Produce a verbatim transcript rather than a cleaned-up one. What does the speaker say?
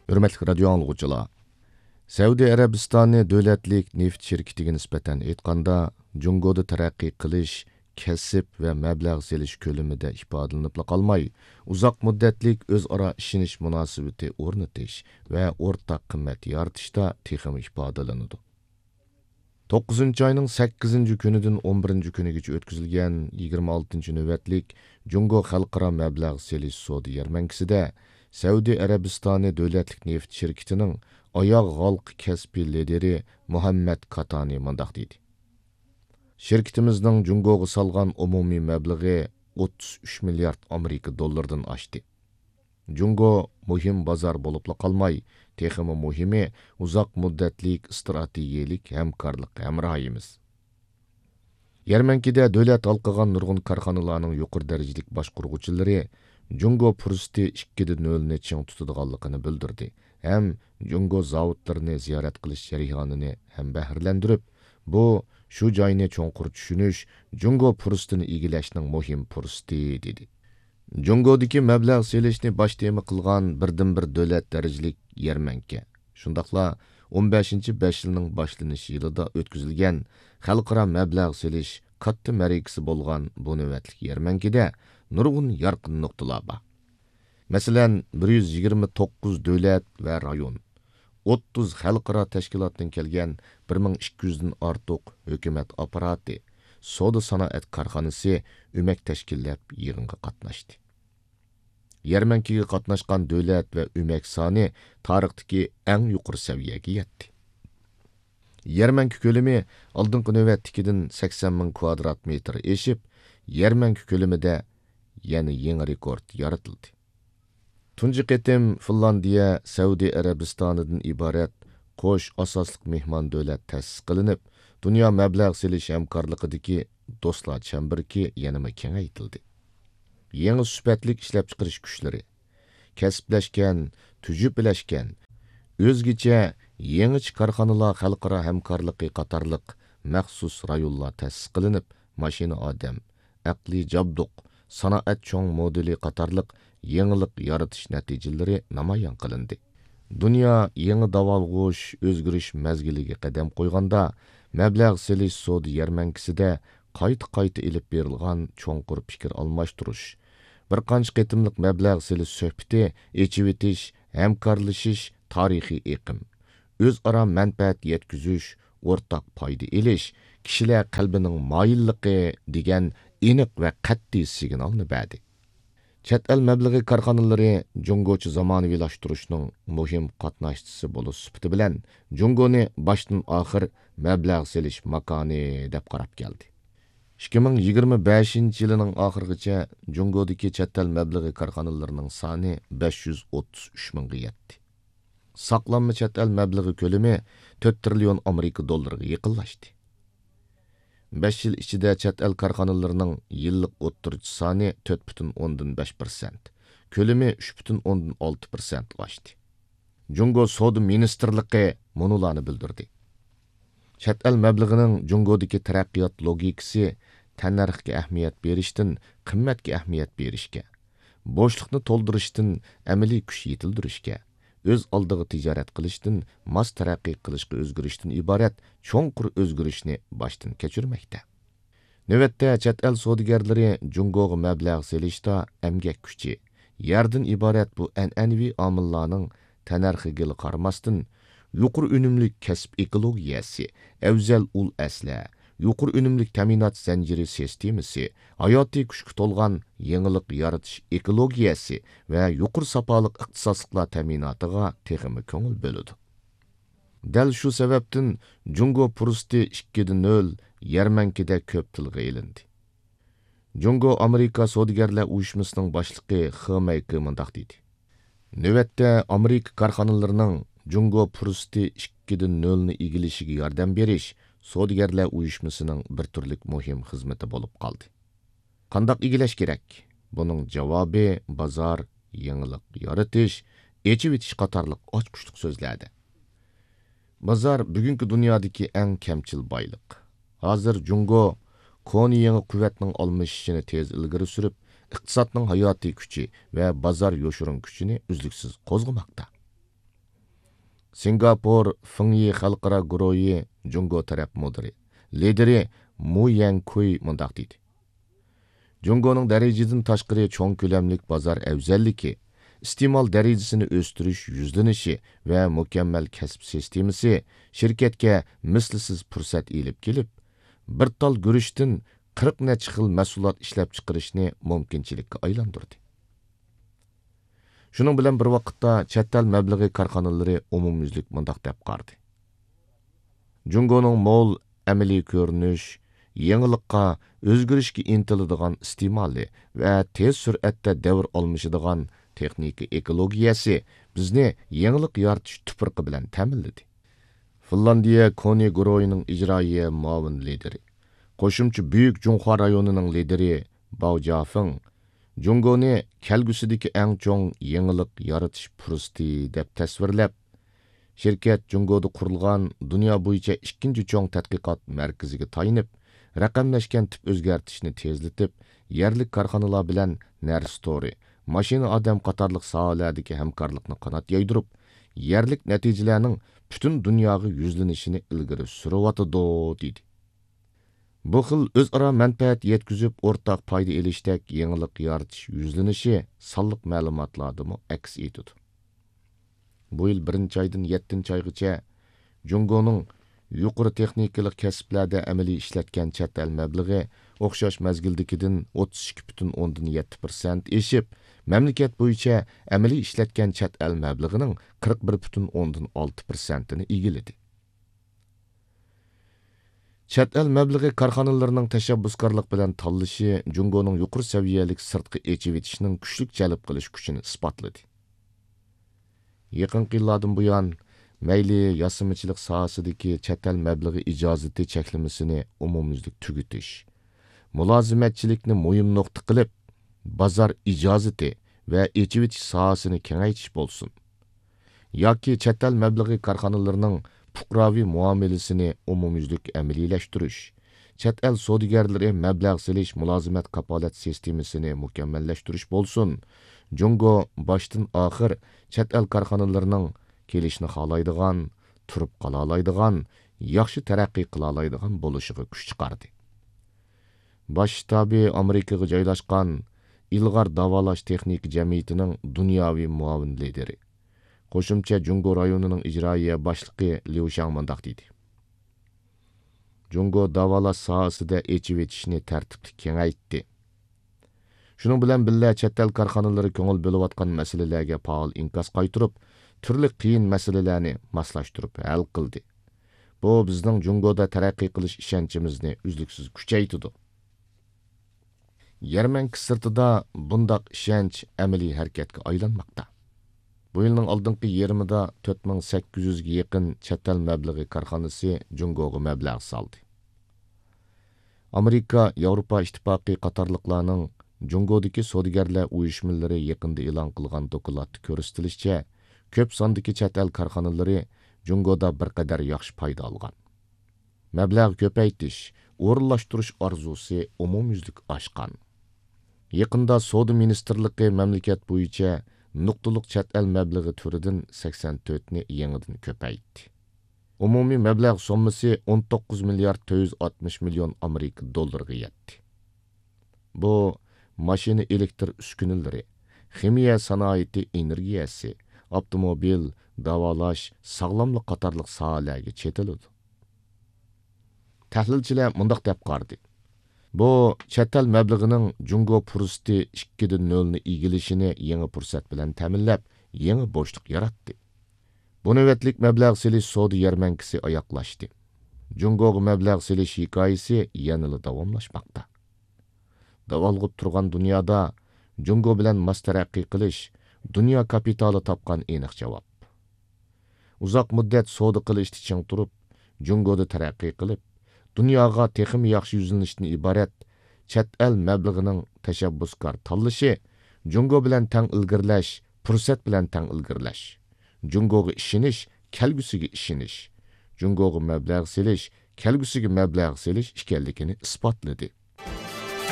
ھۆرمەتلىك رادىيو ئاڭلىغۇچىلار! سەئۇدى ئەرەبىستانى دۆلەتلىك نېفىت شىركىتىگە نىسبەتەن ئېيتقاندا، جۇڭگودا تەرەققىي قىلىش، كەسىپ ۋە مەبلەغ سېلىش كۆلىمىدە ئىپادىلىنىپلا قالماي، ئۇزاق مۇددەتلىك ئۆزئارا ئىشىنىش مۇناسىۋىتى ئورنىتىش ۋە ئورتاق قىممەت يارىتىشتا تېخىمۇ ئىپادىلىنىدۇ. توققۇزىنچى ئاينىڭ سەككىزىنچى كۈنىدىن ئون بىرىنچى كۈنىگىچە ئۆتكۈزۈلگەن يىگىرمە ئالتىنچى نۆۋەتلىك جۇڭگو خەلقئارا مەبلەغ سېلىش سودا يەرمەنكىسىدە سەئۇدى ئەرەبىستانى دۆلەتلىك نېفىت شىركىتىنىڭ ئاياغ ھالقا كەسپىي لىدىرى مۇھەممەد كاتانى مۇنداق دېدى: شىركىتىمىزنىڭ جۇڭگوغا سالغان ئومۇمىي مەبلىغى ئوتتۇز ئۈچ مىليارد ئامېرىكا دوللىرىدىن ئاشتى. جۇڭگو مۇھىم بازار بولۇپلا قالماي، تېخىمۇ مۇھىمى، ئۇزاق مۇددەتلىك ئىستراتېگىيەلىك ھەمكارلىق ھەمراھىمىز. يەرمەنكىدە دۆلەت ھالقىغان نۇرغۇن كارخانىلارنىڭ يۇقىرى دەرىجىلىك باشقۇرغۇچىلىرى جۇڭگو پۇرسىتى ئىككى دە نۆلنى چىڭ تۇتىدىغانلىقىنى بىلدۈردى ھەم جۇڭگو زاۋۇتلىرىنى زىيارەت قىلىش جەريانىنى ھەمبەھىرلەندۈرۈپ، بۇ شۇ جاينى چوڭقۇر چۈشىنىش، جۇڭگو پۇرسىتىنى ئىگىلەشنىڭ مۇھىم پۇرسىتى، دېدى. جۇڭگودىكى مەبلەغ سېلىشنى باش تېما قىلغان بىردىنبىر دۆلەت دەرىجىلىك يەرمەنكە، شۇنداقلا ئون بەشىنچى بەش يىلنىڭ باشلىنىش يىلىدا ئۆتكۈزۈلگەن خەلقئارا مەبلەغ سېلىش كاتتا مەرىكىسى بولغان بۇ نۆۋەتلىك يەرمەنكىدە نۇرغۇن يارقىن نۇقتىلار بار. مەسىلەن، بىر يۈز يىگىرمە توققۇز دۆلەت ۋە رايون، ئوتتۇز خەلقئارا تەشكىلاتتىن كەلگەن بىر مىڭ ئىككى يۈزدىن ئارتۇق ھۆكۈمەت ئاپپاراتى، سودا سانائەت كارخانىسى ئۆمەك تەشكىللەپ يىغىنغا قاتناشتى. يەرمەنكىگە قاتناشقان دۆلەت ۋە ئۆمەك سانى تارىختىكى ئەڭ يۇقىرى سەۋىيەگە يەتتى. يەرمەنكە كۆلىمى ئالدىنقى نۆۋەتتىكىدىن سەكسەن مىڭ كۋادرات مېتىر ئېشىپ، يەرمەنكە كۆلىمىدە يەنە يېڭى رېكورت يارىتىلدى. تۇنجى قېتىم فىنلاندىيە سەئۇدى ئەرەبىستانىدىن ئىبارەت قوش ئاساسلىق مېھمان دۆلەت تەسىس قىلىنىپ، دۇنيا مەبلەغ سېلىش ھەمكارلىقىدىكى دوستلار چەمبىرىكى يەنىمۇ كېڭەيتىلدى. يېڭى سۈپەتلىك ئىشلەپچىقىرىش كۈچلىرى، كەسىپلەشكەن، تۈجۈپىلەشكەن، ئۆزگىچە، يېڭىچە كارخانىلار خەلقئارا ھەمكارلىقى قاتارلىق مەخسۇس رايونلار تەسىس قىلىنىپ، ماشىنا ئادەم، ئەقلىي جابدۇق، سانائەت چوڭ مودېلى قاتارلىق يېڭىلىق يارىتىش نەتىجىلىرى نامايان قىلىندى. دۇنيا يېڭى داۋالغۇش، ئۆزگىرىش مەزگىلىگە قەدەم قويغاندا، مەبلەغ سېلىش سودا يەرمەنكىسىدە قايتا-قايتا ئېلىپ بېرىلغان چوڭقۇر پىكىر ئالماشتۇرۇش، بىر قانچە قېتىملىق مەبلەغ سېلىش سۆھبىتى، ئېچىۋېتىش، ھەمكارلىشىش، تارىخىي ئېقىم، ئۆزئارا مەنپەئەت يەتكۈزۈش، ئورتاق پايدا ئېلىش، كىشىلەر قەلبىنىڭ مايىللىقى دېگەن ئېنىق ۋە قەتئىي سىگنالنى بەردى. چەت ئەل مەبلىغى كارخانىلىرى جۇڭگوچە زامانىۋىلاشتۇرۇشنىڭ مۇھىم قاتناشچىسى بولۇش سۈپىتى بىلەن، جۇڭگونى باشتىن ئاخىر مەبلەغ سېلىش ماكانى دەپ قاراپ كەلدى. ئىككى مىڭ يىگىرمە بەشىنچى يىلىنىڭ ئاخىرىغىچە جۇڭگودىكى چەت ئەل مەبلىغى كارخانىلىرىنىڭ سانى بەش يۈز ئوتتۇز ئۈچ مىڭغا يەتتى. ساقلانما چەت ئەل مەبلىغى كۆلىمى تۆت تىرىليون ئامېرىكا دوللىرىغا يېقىنلاشتى. بەش يىل ئىچىدە چەت ئەل كارخانىلىرىنىڭ يىللىق ئوتتۇرىچە سانى تۆت پۈتۈن ئوندىن بەش پىرسەنت، كۆلىمى ئۈچ پۈتۈن ئوندىن ئالتە پىرسەنتقا ئاشتى. جۇڭگو سودا مىنىستىرلىقى مۇنۇلارنى بىلدۈردى: چەت ئەل مەبلىغىنىڭ جۇڭگودىكى تەرەققىيات لوگىكىسى تەننەرخكە ئەھمىيەت بېرىشتىن قىممەتكە ئەھمىيەت بېرىشكە، بوشلۇقنى تولدۇرۇشتىن ئەمەلىي كۈچ يېتىلدۈرۈشكە، ئۆز ئالدىغا تىجارەت قىلىشتىن ماس تەرەققىي قىلىشقا ئۆزگىرىشتىن ئىبارەت چوڭقۇر ئۆزگىرىشنى باشتىن كەچۈرمەكتە. نۆۋەتتە چەت ئەل سودىگەرلىرى جۇڭگوغا مەبلەغ سېلىشتا ئەمگەك كۈچى، يەردىن ئىبارەت بۇ ئەنئەنىۋى ئامىللارنىڭ تەننەرخىگىلا قارىماستىن، يۇقىرى ئۈنۈملۈك كەسىپ ئېكولوگىيەسى، ئەۋزەل ئۇل ئەسلىھە، يۇقىرى ئۈنۈملۈك تەمىنات زەنجىرى سىستېمىسى، ھاياتىي كۈچكە تولغان يېڭىلىق يارىتىش ئېكولوگىيەسى ۋە يۇقىرى ساپالىق ئىختىساسلىقلار تەمىناتىغا تېخىمۇ كۆڭۈل بۆلىدۇ. دەل شۇ سەۋەبتىن جۇڭگو پۇرسىتى ئىككى دە نۆل يەرمەنكىدە كۆپ تىلغا ئېلىندى. جۇڭگو ئامېرىكا سودىگەرلەر ئۇيۇشمىسىنىڭ باشلىقى خې مەيكې مۇنداق دېدى: نۆۋەتتە ئامېرىكا كارخانىلىرىنىڭ جۇڭگو پۇرسىتى ئىككى دە نۆلنى ئىگىلىشىگە ياردەم بېرىش سودىگەرلەر ئۇيۇشمىسىنىڭ بىر تۈرلۈك مۇھىم خىزمىتى بولۇپ قالدى. قانداق ئىگىلەش كېرەك؟ بۇنىڭ جاۋابى بازار، يېڭىلىق يارىتىش، ئېچىۋېتىش قاتارلىق ئاچقۇچلۇق سۆزلەردە. بازار بۈگۈنكى دۇنيادىكى ئەڭ كەمچىل بايلىق. ھازىر جۇڭگو كونا يېڭى قۇۋۋەتنىڭ ئالمىشىشىنى تېز ئىلگىرى سۈرۈپ، ئىقتىسادنىڭ ھاياتىي كۈچى ۋە بازار يوشۇرۇن كۈچىنى ئۈزلۈكسىز قوزغىماقتا. سىنگاپور فېڭيى خەلقئارا گۇرۇھى جۇڭگو تەرەپ مۇدىرى، لىدىرى مۇ يەنكۇي مۇنداق دېدى: جۇڭگونىڭ دەرىجىدىن تاشقىرى چوڭ كۆلەملىك بازار ئەۋزەللىكى، ئىستېمال دەرىجىسىنى ئۆستۈرۈش يۈزلىنىشى ۋە مۇكەممەل كەسىپ سىستېمىسى شىركەتكە مىسلىسىز پۇرسەت ئېلىپ كېلىپ، بىر تال گۈرۈچتىن قىرىق نەچچە خىل مەھسۇلات ئىشلەپچىقىرىشنى مۇمكىنچىلىككە ئايلاندۇردى. شۇنىڭ بىلەن بىر ۋاقىتتا، چەت ئەل مەبلىغى كارخانىلىرى ئومۇميۈزلۈك مۇنداق دەپ قارىدى: جۇڭگونىڭ مول ئەمەلىي كۆرۈنۈش، يېڭىلىققا، ئۆزگىرىشكە ئىنتىلىدىغان ئىستېمالى ۋە تېز سۈرئەتتە دەۋر ئالمىشىدىغان تېخنىكا ئېكولوگىيەسى بىزنى يېڭىلىق يارىتىش تۇپرىقى بىلەن تەمىنلىدى. فىنلاندىيە كونى گۇرۇھىنىڭ ئىجرائىيە مۇئاۋىن لىدىرى، قوشۇمچە بۈيۈك جۇڭخۇا رايونىنىڭ لىدىرى باۋ جيافېڭ جۇڭگونى كەلگۈسىدىكى ئەڭ چوڭ يېڭىلىق يارىتىش پۇرسىتى دەپ تەسۋىرلەپ، شىركەت جۇڭگودا قۇرۇلغان دۇنيا بويىچە ئىككىنچى چوڭ تەتقىقات مەركىزىگە تايىنىپ، رەقەملەشكەن تىپ ئۆزگەرتىشنى تېزلىتىپ، يەرلىك كارخانىلار بىلەن نەرسە تورى، ماشىنا ئادەم قاتارلىق ساھەلەردىكى ھەمكارلىقنى قانات يايدۇرۇپ، يەرلىك نەتىجىلەرنىڭ پۈتۈن دۇنياغا يۈزلىنىشىنى ئىلگىرى سۈرۈۋاتىدۇ، دېدى. بۇ خىل ئۆزئارا مەنپەئەت يەتكۈزۈپ، ئورتاق پايدا ئېلىشتەك يېڭىلىق يارىتىش يۈزلىنىشى سانلىق مەلۇماتلاردىمۇ ئەكس ئېتىدۇ. بۇ يىل بىرىنچى ئايدىن يەتتىنچى ئايغىچە جۇڭگونىڭ يۇقىرى تېخنىكىلىق كەسىپلەردە ئەمەلىي ئىشلەتكەن چەت ئەل مەبلىغى ئوخشاش مەزگىلدىكىدىن ئوتتۇز ئىككى پۈتۈن ئوندىن يەتتە پىرسەنت ئېشىپ، مەملىكەت بويىچە ئەمەلىي ئىشلەتكەن چەت ئەل مەبلىغىنىڭ قىرىق بىر پۈتۈن ئوندىن ئالتە پىرسەنتىنى ئىگىلىدى. چەت ئەل مەبلىغى كارخانىلىرىنىڭ تەشەببۇسكارلىق بىلەن تاللىشى جۇڭگونىڭ يۇقىرى سەۋىيەلىك سىرتقا ئېچىۋېتىشنىڭ كۈچلۈك جەلپ قىلىش كۈچىنى ئىسپاتلىدى. يېقىنقى يىللاردىن بۇيان، مەيلى ياسىمىچىلىق ساھەسىدىكى چەت ئەل مەبلىغى ئىجازىتى چەكلىمىسىنى ئومۇميۈزلۈك تۈگىتىش، مۇلازىمەتچىلىكنى مۇھىم نۇقتا قىلىپ، بازار ئىجازىتى ۋە ئېچىۋېتىش ساھەسىنى كېڭەيتىش بولسۇن، ياكى چەت ئەل مەبلىغى كارخانىلىرىنىڭ پۇقراۋى مۇئامىلىسىنى ئومۇميۈزلۈك ئەمەلىيلەشتۈرۈش، چەت ئەل سودىگەرلىرى مەبلەغ سېلىش مۇلازىمەت كاپالەت سىستېمىسىنى مۇكەممەللەشتۈرۈش بولسۇن، جۇڭگو باشتىن ئاخىر چەت ئەل كارخانىلىرىنىڭ كېلىشنى خالايدىغان، تۇرۇپ قالالايدىغان، ياخشى تەرەققىي قىلالايدىغان بولۇشىغا كۈچ چىقاردى. باش شتابى ئامېرىكىغا جايلاشقان ئىلغار داۋالاش تېخنىكا جەمئىيىتىنىڭ دۇنياۋى مۇئاۋىن لىدىرى، قوشۇمچە جۇڭگو رايونىنىڭ ئىجرائىيە باشلىقى ليۇ شاڭ مۇنداق دېدى: جۇڭگو داۋالاش ساھەسىدە ئېچىۋېتىشنى تەرتىپلىك كېڭەيتتى. شۇنىڭ بىلەن بىللە، چەت ئەل كارخانىلىرى كۆڭۈل بۆلۈۋاتقان مەسىلىلەرگە پائال ئىنكاس قايتۇرۇپ، تۈرلۈك قىيىن مەسىلىلەرنى ماسلاشتۇرۇپ ھەل قىلدى. بۇ بىزنىڭ جۇڭگودا تەرەققىي قىلىش ئىشەنچىمىزنى ئۈزلۈكسىز كۈچەيتىدۇ. يەرمەنكە سىرتىدا بۇنداق ئىشەنچ ئەمەلىي ھەرىكەتكە ئايلانماقتا. بۇ يىلنىڭ ئالدىنقى يېرىمىدا تۆت مىڭ سەككىز يۈزگە يېقىن چەت ئەل مەبلىغى كارخانىسى جۇڭگوغا مەبلەغ سالدى. ئامېرىكا، ياۋروپا ئىتتىپاقى قاتارلىقلارنىڭ جۇڭگودىكى سودىگەرلەر ئۇيۇشمىلىرى يېقىندا ئېلان قىلغان دوكلاتتا كۆرسىتىلىشىچە، كۆپ ساندىكى چەت ئەل كارخانىلىرى جۇڭگودا بىر قەدەر ياخشى پايدا ئالغان. مەبلەغ كۆپەيتىش، ئورۇنلاشتۇرۇش ئارزۇسى ئومۇميۈزلۈك ئاشقان. يېقىندا سودا مىنىستىرلىقى مەملىكەت بويىچە نۇقتىلىق چەت ئەل مەبلىغى تۈرىدىن سەكسەن تۆتنى يېڭىدىن كۆپەيتتى. ئومۇمىي مەبلەغ سوممىسى ئون توققۇز مىليارد تۆت يۈز ئاتمىش مىليون ئامېرىكا دوللىرىغا يەتتى. بۇ ماشىنا ئېلېكتر ئۈسكۈنىلىرى، خىمىيە سانائىتى ئېنېرگىيەسى، ئاپتوموبىل، داۋالاش، ساغلاملىق قاتارلىق ساھەلەرگە چېتىلىدۇ. تەھلىلچىلەر مۇنداق دەپ قارىدى: بۇ چەت ئەل مەبلىغىنىڭ جۇڭگو پۇرسىتى ئىككىدە نۆلنى ئىگىلىشىنى يېڭى پۇرسەت بىلەن تەمىنلەپ، يېڭى بوشلۇق ياراتتى. بۇ نۆۋەتلىك مەبلەغ سېلىش سودا يەرمەنكىسى ئاياغلاشتى. جۇڭگوغا مەبلەغ سېلىش ھېكايىسى يەنىلا داۋاملاشماقتا. داۋالغۇپ تۇرغان دۇنيادا جۇڭگو بىلەن ماس تەرەققىي قىلىش دۇنيا كاپىتالى تاپقان ئېنىق جاۋاب. ئۇزاق مۇددەت سودا قىلىشتا چىڭ تۇرۇپ، جۇڭگودا تەرەققىي قىلىپ، دۇنياغا تېخىمۇ ياخشى يۈزلىنىشتىن ئىبارەت چەت ئەل مەبلىغىنىڭ تەشەببۇسكار تاللىشى جۇڭگو بىلەن تەڭ ئىلگىرىلەش، پۇرسەت بىلەن تەڭ ئىلگىرىلەش، جۇڭگوغا ئىشىنىش، كەلگۈسىگە ئىشىنىش، جۇڭگوغا مەبلەغ سېلىش، كەلگۈسىگە مەبلەغ سېلىش ئىكەنلىكىنى ئىسپاتلىدى.